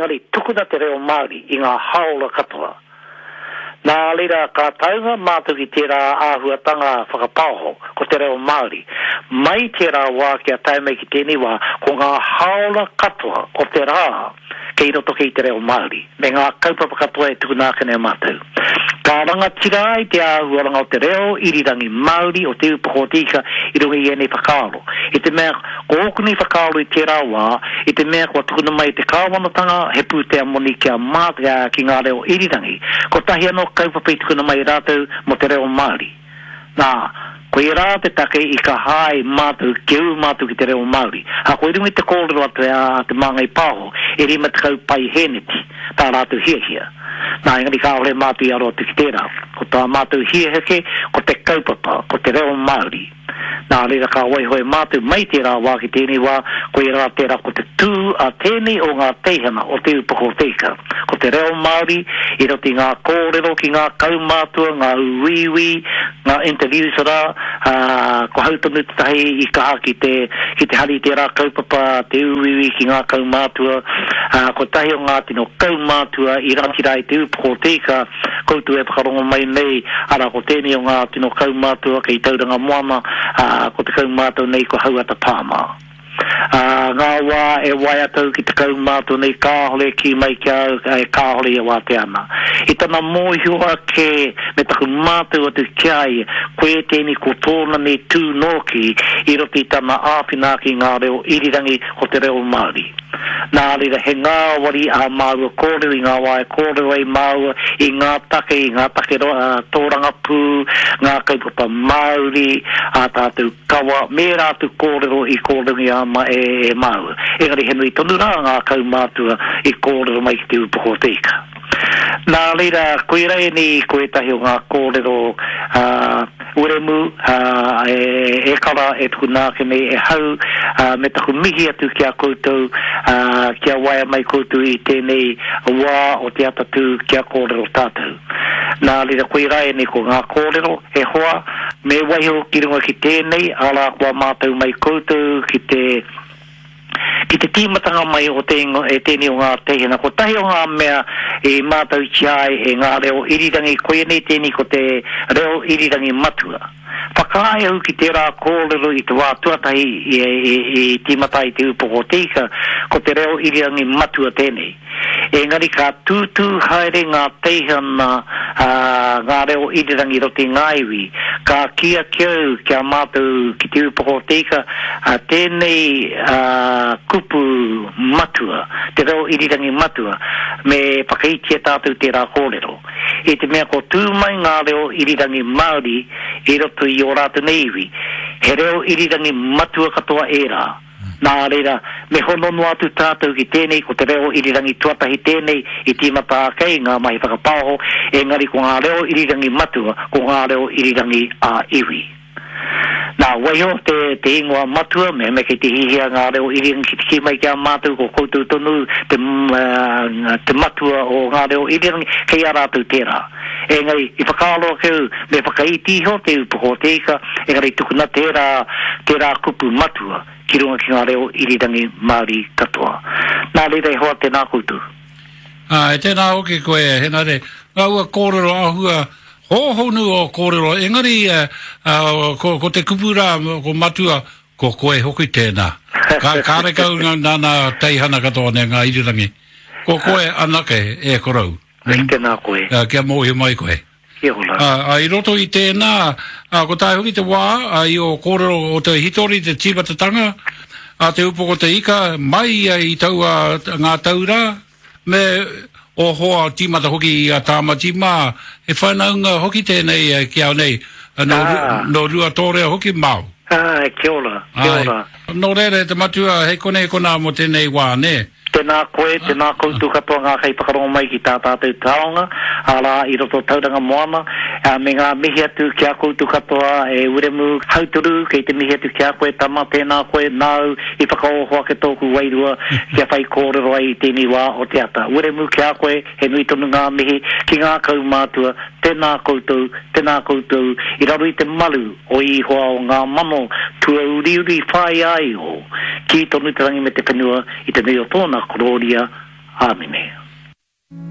Engari tukuna te reo Māori i ngā haora katoa. Nā reira ka taunga mātou ki tērā āhuatanga whakapaoho, ko te reo Māori. Mai tērā wā kia tae mai ki tēnei wā, ko ngā haora katoa o te rā kei roto kei te reo Māori, me ngā kaupapa katoa e tukuna ake nei mātou. Ka rangatira ai te āhuaranga o te reo irirangi Māori o Te Ūpoko o Te Ika i runga i ēnei whakaaro. I te mea, ko ōku nei whakaaro i tērā wā, i te mea kua tukuna mai e te kāwanatanga he pūtea moni kia mā, ki ngā reo irirangi, kotahi anō kaupapa i tukuna mai e rātou mō te reo Māori. Nā, koirā te take i kaha ai mātou kia ū mātou ki te reo Māori. Ā, ko i runga i te kōrero atu a Te Māngai Pāho, e 50 paihēneti tā rātou hiahia. Nā, engari kāore mātou i aro atu ki tērā. Ko tā mātou hiahia kē, ko te kaupapa, ko te reo Māori. Nā reira ka waiho e mātou mai tērā wā ki tēnei wā, koirā tērā ko te tū a tēnei o ngā teihana o Te Upoko o Te Ika. Ko te reo Māori i roto i ngā kōrero ki ngā kaumātua, ngā uiui, ngā interviews rā, ā, ko hau tonu tētahi i kaha ki te, ki te hari i tērā kaupapa, te uiui ki ngā kaumātua, ā, kotahi o ngā tino kaumātua i rangatira ai Te Upoko o Te Ika, Koutou e whakarongo mai nei, arā, ko tēnei o ngā tino kaumātua kei Tauranga Moana, ā, ko te kaumātua nei ko Hauata Pāma. Ā, ngā wā e waea atu ki te kaumātua nei kāore e kī mai ki a au, e kāore ia wātea ana. I tana mōhio ake me taku mātau atu ki a ia, koe tēnei ko tōna nei tū nōki i roto i tana āwhina ake i ngā reo irirangi ko te reo Māori. Nā reira, he ngāwari ā māua kōrero i ngā wā e kōrero ai māua i ngā take, i ngā take tōrangapū, ngā kaupapa Māori, ā tātou kawa, me ērā atu kōrero i kōrerongia ama e māua. Engari he nui tonu rā ngā kaumātua i kōrero mai ki Te Ūpoko o Te Ika. Nā reira, koirā ēnei ko ētahi o ngā kōrero ā Wiremu, ā, e kara e tukuna ake nei e hau, ā, me taku mihi atu ki a koutou, ā, kia waea mai koutou i tēnei wā o te atatū kia kōrero tātou. Nā reira, koirā ēnei ko ngā kōrero, e hoa, me waiho ki runga ki tēnei, arā, kua mātau mai koutou ki te. Ki te tīmatanga mai o te ingoa e tēnei o ngā teihana, kotahi o ngā mea i mātautia ai e ngā reo irirangi, koianei tēnei ko te reo irirangi matua. Whakaae au ki tērā kōrero i te wā tuatahi i tīmata ai Te Ūpoko o Te Ika, ko te reo irirangi matua tēnei. Engari ka tūtū haere ngā teihana, ā, ngā reo irirangi i roto i ngā iwi. Ka kī ake au ki a mātou ki Te Ūpoko o Te Ika, ā, tēnei, ā, kupu matua, te reo irirangi matua, me whakaitia tātou tērā kōrero. I te mea ko tū mai ngā reo irirangi Māori i roto i ō rātou nei iwi, he reo irirangi matua katoa ērā. Nā reira, me hono noa atu tātou ki tēnei, ko te reo irirangi tuatahi tēnei i tīmata ake ai ngā mahi whakapaoho, engari ko ngā reo irirangi matua, ko ngā reo irirangi ā-iwi. Nā, waiho te, te ingoa matua, mehemea kei te hihia ngā reo irirangi ki te kī mai ki a mātou, ko koutou tonu te, te matua o ngā reo irirangi, kei a rātou tērā. Engari, i whakaaro ake au, me whakaiti iho te upoko o te ika, engari tukuna tērā, tērā kupu matua ki runga ki ngā reo irirangi Māori katoa. Nā reira e hoa, tēnā koutou. Āe, tēnā hoki koe, Henare. Ngaua kōrero āhua hōhonu ō kōrero, engari ko, ko te kupu rā, ko matua, ko koe hoki tēnā. Ka, kārekau nā, nā teihana katoa nei ngā irirangi. Ko koe anake e korou. Ai tēnā koe. Ā, kia mōhio mai koe. Kia ora. Ā, ā, i roto i tēnā, ā, ko tae hoki te wā, ā, i ō kōrero o te hitori, te tīmatatanga, a Te Upoko Te Ika, mai ia i taua ngā tau rā, me ō hoa tīmata hoki i a Tāmati mā, he whanaunga hoki tēnei ki au nei, nō, nō Ruatōrea hoki māu. Āe, kia ora, kia ora. Nō reira e te matua, hei konei konā mō tēnei wā, nē? Tēnā koe, tēnā koutou katoa ngā kaiwhakarongo mai ki tā tātou taonga, arā, i roto o Tauranga Moana, ā, me ngā mihi atu ki a koutou katoa e Wiremu Hautoru, kei te mihi atu ki a koe tama, tēnā koe, nāu i whakaoho ake tōku wairua kia whai kōrero ai i tēnei wā o te ata. Wiremu, ki a koe, he nui tonu ngā mihi ki ngā kaumātua, tēnā koutou, tēnā koutou, i raro i te maru o Ihoa o ngā mano tuauriuri whāia ai iho, kī tonu te rangi me te whenua i te nui o tōna korōria. Āmine.